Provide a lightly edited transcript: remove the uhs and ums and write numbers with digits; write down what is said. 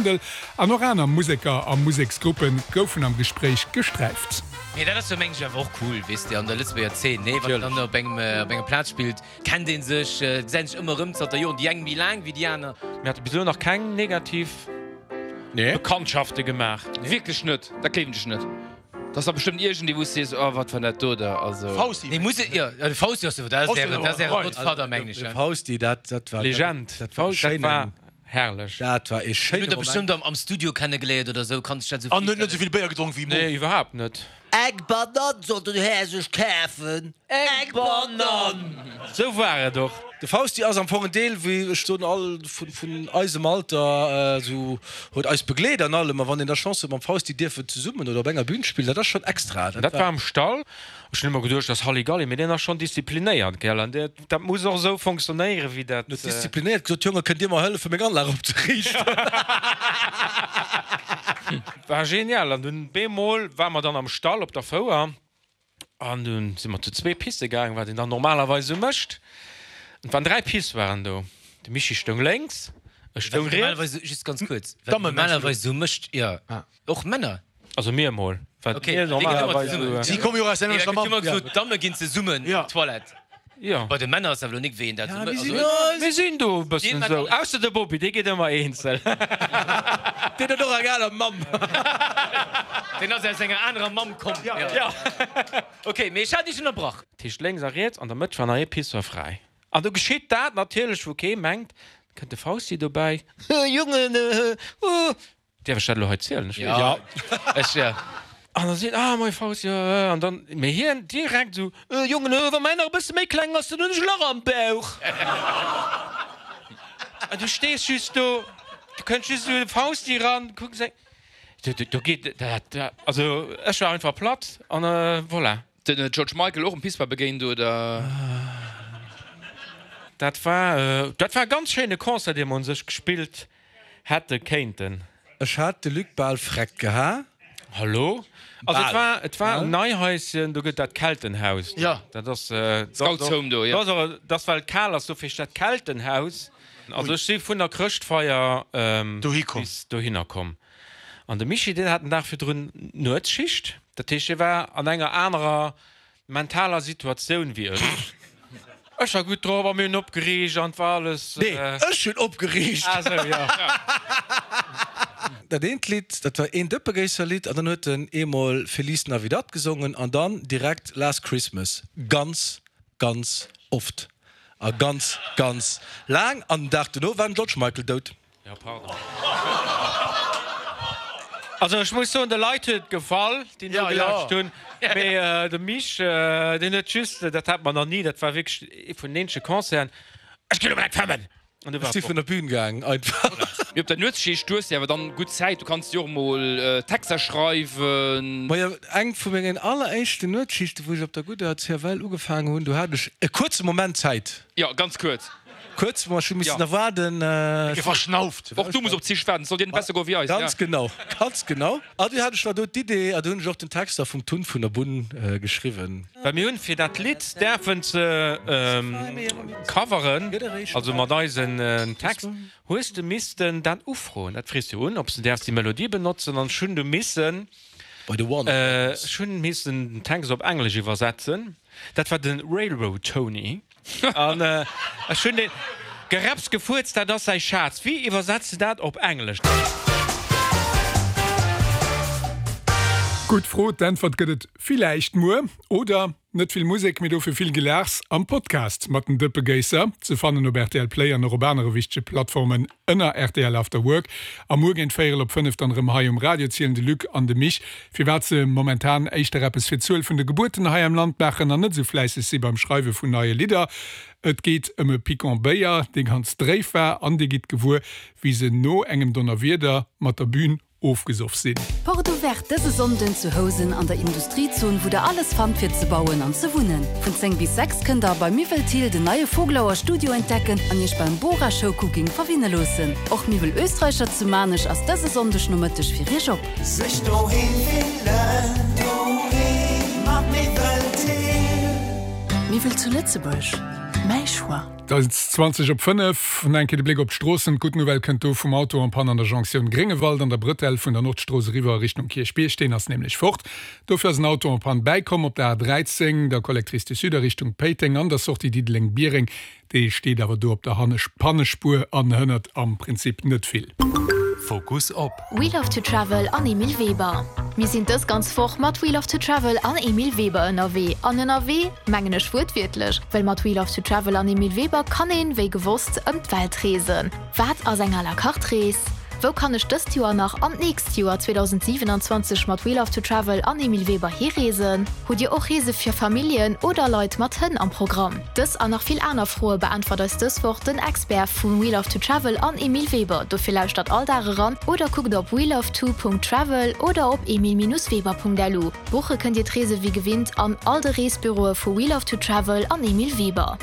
Findel an och aner Museker a Museksgruppe goufen am Gespréich gesträift. Mee dat ass jo mengen ech awer och cool, weess de, an der Lëtzebuerger Zeen, nee, wann een dann op engem, op enger Plaz spillt, kennt ee sech, gesäit sech ëmmer erëm zanter Joren, déi eng méi laang wéi déi aner. Mir hate bis elo nach keng negativ Bekanntschafte gemaach. Wierklech net, dat gleewen ech net. Dat ass da bestëmmt iergendee wou s de sees, oh wat war dat do da, also. Fausti. Nee, muss et, jo, de Fausti ass jo, dat ass äre, dat ass äre Godfather, mengen ech, De Fausti, dat, dat war. Legend. Dat war e schéinen. Herrlech. Dat war ee schéine Hutt der Moment. bestëmmt am Studio kennegeléiert oder sou, kann sech dat sou An huet net souvill Béier gedronk wéi Mo. Nee, iwwerhaapt net. Eng Banann soll den Här sech kafen. Eng Banann! Sou war et och. De Fausti ass am Fong en Deel, wéi ech soen, all vun eisem Alter, esou huet eis begleet an allem. A wann een da Chance huet mam Fausti dierfen zesummen oder op enger Bühn spillen, dat ass schonn extra. Dat war am Stall. Ech hunn ëmmer geduecht, dat ass Halligalli, mee deen ass schonn disziplinéiert, gell? An dat muss och esou fonctionnéieren, wéi dat. Huet disziplinéiert gesot, Jonge, kënnt Dir mer hëllefen, meng Anlag opzeriichten? War genial. An dunn bemol ware mer dann am Stall op der Fouer an dunn si mer zu zwee pisse gaangen, wat een dann normalerweis esou mécht. An et waren 3 Pissoiren do. De Michi stoung lénks, ech stoung riets. Just ganz kuerz, wat een normalerweis esou mécht, jo. Och Männer? Also mir emol. Wat mir normalerweis esou. Si komme jo aus der selwechter Mamm. Ech hu gesot, d'Damme ginn zesummen op d'Toilette. Jo. Bei de Männer ass awer elo nik wéi een dat esou mécht. Mir sinn do e bëssen esou. Ausser de Bobby, dee geet ëmmer eenzel. Deen huet och eng aner Mamm. Deen ass aus enger anerer Mamm komm. Jo. Ok, mee ech hat iech ënnerbrach. Dat heescht lénks a riets, an der Mëtt war nach ee Pissoir fräi. An do geschitt dat natierlech, wou kee mengt, kënnt de Fausti dobäi, Jongen, Däerf ech dat elo hei zielen? Ech weess Ja. Ech, ja. An da seet, ah, moie Fausti, jo, jo. An dann, mee hien direkt esou, Äh, Jongen, äh, wa mäin nach e bësse méi kleng ass, dann hunn ech e Lach am Bauch. An du stees just do, du kënns just esou de Fausti eran, kucks eng, do, do, do geet dat, dat, also ech war einfach platt an voilà. Den George Michael och um Pissoir begéint, oder? Dat war, dat war e ganz schéine Concert, dee mer un sech gespillt hätte kéinten. Ech hat de Luc bal freckt geha. Hallo? Also et war, et war um Neihaischen, do gëtt dat Keltenhaus. Jo. Dat ass, Scouts Home do, jo. Dat ass och, dat ass well et kal ass, dofir heescht dat Keltenhaus. Also ech si vun der Chrëschtfeier bis dohinner komm. An de Michi, deen hat den Dag virdrun Nuetsschicht. Dat heescht, hie war an enger anerer mentaler Situatioun wéi ech. Ech war gutt drop a mir hunn opgeriicht an et war alles. Nee, ech hunn opgeriicht! Ah sou, jo. Dat eent Lidd, dat war een Dëppegéisser-Lidd an dann huet en eemol Feliz Navidad gesongen an dann direkt Last Christmas. Ganz, ganz oft a ganz, ganz laang. An den Dag dono war den George Michael dout. Jo, pardon. Also ech muss soen, de Leit huet et gefall, déi nogelauscht hunn. Mee de Mich, deen huet just, dat hat mer nach ni, dat war wierklech ee vun den eenzege Concerten, Ech ginn elo direkt fëmmen! An du Ech war si vun der Bühn gaang einfach. Mee op der Nuetsschicht, du hues jo awer dann gutt Zäit, du kanns jo och mol Texter schreiwen. Majo, eng vu mengen alleréischten Nuetsschichten, wou ech op der gudder CFL ugefaangen hunn, do hat ech e kuerze Moment Zäit. Jo, ganz kuerz. Kuerz, ma ech hu missen nach waarden. Ge verschnauft. Och du muss op d'Zich waarden, et soll dir net besser goe wéi eis. Ganz genau, ganz genau. A du hat ech da do d'Idee, a du hunn ech och den Text da vum Tun vun der Bunn geschriwwen. Well mir hunn fir dat Lidd däerfen ze coveren, also mat eisen Text, hues de missten dat ufroen. Dat frees du un, ob s de däerfs déi Melodie benotzen. An ech hunn du missen, ech hunn missen den Text op Englesch iwwersetzen. Dat war de Railroad Tony. An ech hunn deen Geräpps gefuerzt, dat ass säi Schaz. Wéi iwwersetz de dat op Englesch? Gutt Fro, d'Äntwert gëtt et villäicht muer. Oder net vill Musek, mee dofir vill Gelaachs am Podcast mat den Dëppegéisser, ze fannen op rtl Play an och op anere wichtege Plattformen ënner rtl After Work. A muer géint véierel op 5 dann erëm hei um Radio zielen de Luc an de Mich, firwat se momentan éischter eppes fir d'Zuel vun de Gebuerten hei am Land maachen an net esou fläisseg si beim Schreiwe vun neie Lidder. Et geet ëm e Picon Béier, dee ganz dréif war an dir gitt gewuer, wéi se no engem Donnerwieder mat der Bühn ofgesoff sinn. Porte Ouverte dëse Sonnden zu Housen an der Industriezon, wou der alles fannt fir ze bauen an ze wunnen. Vun 10 bis 6 kënnt der bei Miwwel Thill den neie Vogelauer Studio entdecken an iech beim Bora Showcooking verwinne loossen. Och Miwwel Österreicher zu Maarnech ass dëse Sonndeg Nomëtteg fir iech op. Sech doheem fillen, doheem mat Miwwel Thill. Miwwel zu Lëtzebuerg, mäi Choix. Et ass 20 op 5. Nach eng Kéier de Bléck op d'Stroossen. D'gutt Nouvelle kënnt do vum Auto en panne an der Jonktioun Gréngewald an der Brëtell vun der Nordstrooss eriwwer a Richtung Kierchbierg. Deen ass nämlech fort. Dofir ass en Auto en panne bäikomm op der A13, der Collectrice du Sud a Richtung Péiteng an der Sortie Diddeleng-Biereng. Dee steet awer do op der Pannespuer an hënnert am Prinzip net vill. Fokus op. We Love to Travel an Emile Weber. Mir sinn dës ganz Woch mat We Love to Travel an Emile Weber ënnerwee. An ënnerwee mengen ech wuertwiertlech, well mat We Love to Travel an Emile Weber kann een, wéi gewosst, ëm d'Welt reesen. Wat ass eng à la carte Rees? Wou kann ech dëst Joer nach an d'nächst Joer 2027 mat We Love to Travel an Emile Weber hireesen? Hutt Dir och Reese fir Familljen oder Leit mat Hënn am Programm? Dës an nach vill aner Froe beäntwert eis dës Woch den Expert vu We Love to Travel an Emile Weber. Dofir lauschtert all Dag eran oder kuckt op weloveto.travel oder op emile-weber.lu. Buche kënnt Dir d'Reese wéi gewinnt an all de Reesbüroe vu We Love to Travel an Emile Weber.